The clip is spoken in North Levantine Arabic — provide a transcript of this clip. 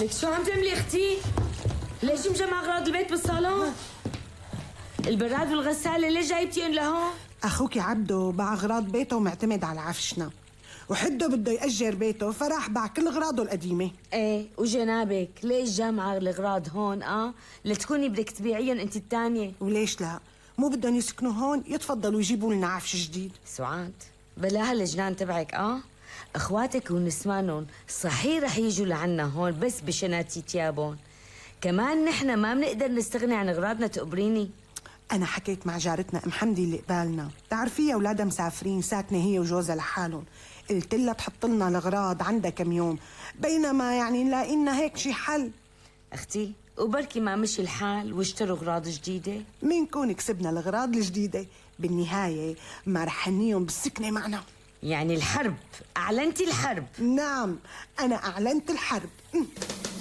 لك شو عم تعملي اختي؟ ليش مجمع اغراض البيت بالصالون؟ البراد والغسالة ليش جايبتيهم لهون؟ أخوك عبده باع أغراض بيته ومعتمد على عفشنا، وحده بده يأجر بيته فراح باع كل أغراضه القديمة. ايه وجنابك ليش جامعة الأغراض هون لتكوني بدك تبيعيهم انت التانية؟ وليش لا؟ مو بدهم يسكنوا هون يتفضلوا يجيبوا لنا عفش جديد. سعاد بلا هالجنان تبعك اخواتك ونسوانهم صحيح رح يجوا لعنا هون بس بشناتي تيابون، كمان نحن ما بنقدر نستغني عن اغراضنا تقبريني. أنا حكيت مع جارتنا أم حمدي اللي قبالنا، بتعرفيها أولادها مسافرين ساكنة هي وجوزها لحالهم، قلت لها تحط لنا الأغراض عندها كم يوم، بينما يعني نلاقي لنا هيك شي حل. أختي وبركي ما مشي الحال واشتروا أغراض جديدة، مين كون كسبنا الأغراض الجديدة بالنهاية ما رح نيهم بالسكنة معنا. يعني الحرب، أعلنتي الحرب؟ نعم أنا أعلنت الحرب.